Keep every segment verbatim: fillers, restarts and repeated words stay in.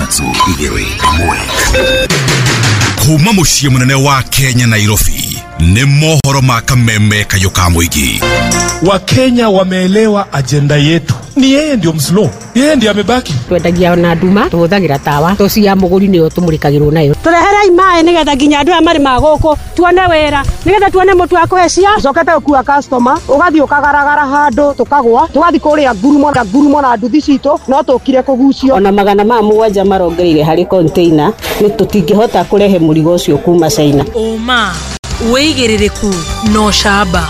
Ithatũ, igĩrĩ, ĩmwe. Kuma mũciĩ mũnene wa Kenya, Nairobi, nĩ mohoro ma Kameme Kayũ ka Mũingĩ. Wakenya wameelewa ajenda yetu. Ni yeye ndio mslow, yeye ndio amebaki. Twendagia na nduma, tũhũthagĩra tawa, toci ya mũgũri nĩyo tũmũrĩkagĩrwo nayo. Tũreherei maĩ nĩgetha nginya andũ aya marĩ magũkũ tuone wĩra, nĩgetha tuone mũtu wa kũhe ciana. Ũcokete gũkua customer, ũgathiĩ ũkagaragara handũ tũkagwa, tũgathiĩ kũrĩa ngurumo na ngurumo na nduthi citũ, no tũkire kũgucio. Ona magana ma mũgwanja marongereire harĩ container, nĩ tũtingĩhota kũrehe mũrigo ũcio kuma China. Ũma, wĩigĩrĩrĩku na ũcamba.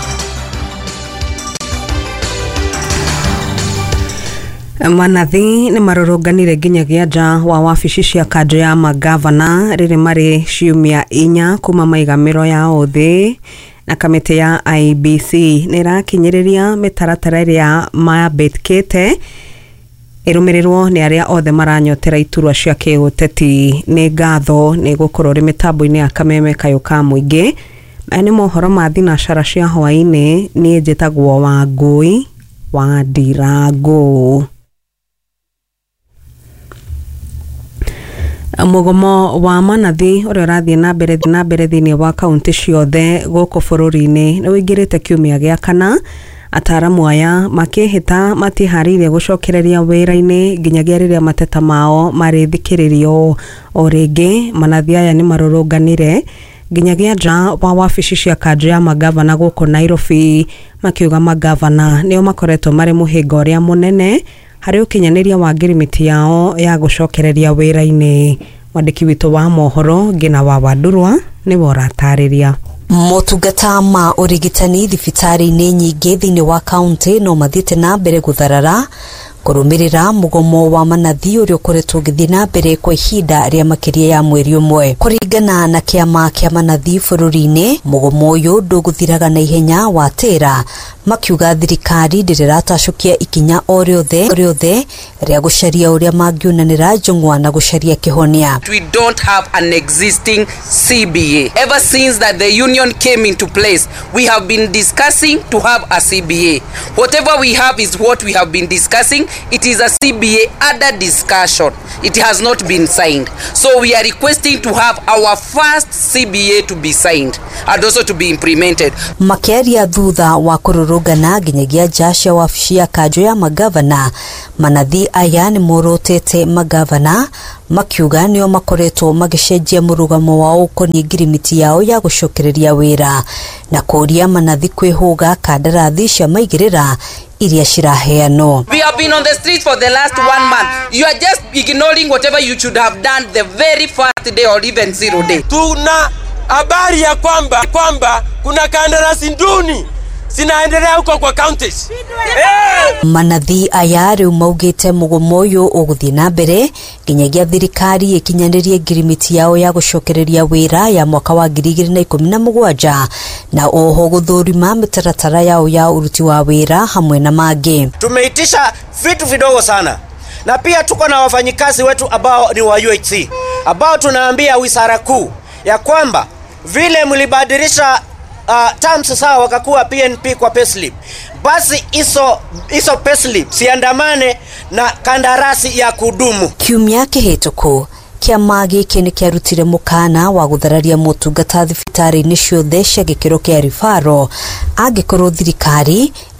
Manathi nĩ marũrũnganire nginyagia nja wa wabici cia kanjũ ya mangavana rĩrĩ marĩ ciumia inya kuma maigamĩro yao thĩ, na kamĩtĩ ya I E B C nĩ ĩrakinyĩrĩria mĩtaratara ĩrĩa mambĩkĩte ĩrũmĩrĩrwo nĩ arĩa othe maranyotera iturwa cia kĩũteti. Nĩ ngatho nĩ gũkorwo rĩ mĩtambo-inĩ ya Kameme Kayũ ka Mũingĩ. Maya nĩ mohoro ma thinacara cia hwaĩ-inĩ. Niĩ njĩtagwo Wangũi wa Ndirangũ. Mũgomo wa manathi ũrĩa ũrathiĩ na mbere na mbere thĩinĩ wa kaunti ciothe gũkũ bũrũri-inĩ nĩ ũingĩrĩte kiumia gĩa kana, ataaramu aya makĩhĩta matiharĩirie gũcokereria wĩra-inĩ nginyagia rĩrĩa mateta mao marĩthikĩrĩrio. O rĩngĩ manathi aya nĩ marũrũnganire nginyagia nja wa wabici cia kanjũ ya mangavana gũkũ Nairobi, makiuga mangavana nĩo makoretwo marĩ mũhĩnga ũrĩa mũnene harĩ ũkinyanĩria wa ngirimiti yao ya gũcokereria wĩra-inĩ. Mwandĩki witũ wa mohoro Ngina wa Wandurwa nĩwe ũratarĩria. Motungata ma ũrigitani thibitarĩ-inĩ nyingĩ thĩinĩ wa kaunti no mathiĩte na mbere gũtharara kũrũmĩrĩra mũgomo wa manathi ũrĩa ũkoretwo ũgĩthiĩ na mbere kwa ihinda rĩa makĩria ya mweri ũmwe. Kũringana na kĩama kĩa manathi bũrũri-inĩ, mũgomo ũyũ ndũgũthiraga na ihenya watĩra, makiuga thirikari ndĩrĩ ĩratacũkia ikinya o rĩothe rĩothe rĩa gũcaria ũrĩa mangiunanĩra njũng'wa na gũcaria kĩhonia. We don't have an existing C B A. Ever since that the union came into place, we have been discussing to have a C B A. Whatever we have is what we have been discussing. It is a C B A under discussion. It has not been signed. So we are requesting to have our first C B A to be signed and also to be implemented. Makĩaria thutha wa kũrũrũngana nginyagia nja cia wabici ya kanjũ ya magavana, manathi aya nĩ morotete magavana makiuga nĩo makoretwo magĩcenjia mũrũgamo wao ũkoniĩ ngirimiti yao ya gũcokereria wĩra, na kũria manathi kwĩhũga kandarathi cia maigĩrĩra iria ciraheanwo. We have been on the street for the last one month. You are just ignoring whatever you should have done the very first day or even zero day. Tuna habari ya kwamba kwamba kuna kandarasi nduni zinaendelea huko kwa counties. Hey! Manathi aya rĩu maugĩte mũgomo ũyũ ũgũthiĩ na mbere nginyagia thirikari ĩkinyanĩrie ngirimiti yao ya gũcokereria wĩra ya mwaka wa ngiri igĩrĩ na ikũmi na mũgwanja, na oho gũthũrima mĩtaratara yao ya ũruti wa wĩra hamwe na mangĩ. Tumeitisha vitu vidogo sana, na pia tuko na wafanyikazi wetu ambao ni wa U H C ambao tunaambia wizara kuu ya kwamba vile mlibadilisha uh, terms sawa wakakuwa P N P kwa payslip, basi hizo hizo payslip siandamane na kandarasi ya kudumu. Kiumia kĩhĩtũku kĩama gĩkĩ nĩ kĩarutire mũkana wa gũthararia motungata thibitarĩ-inĩ ciothe cia gĩkĩro kĩa ribaro angĩkorwo thirikari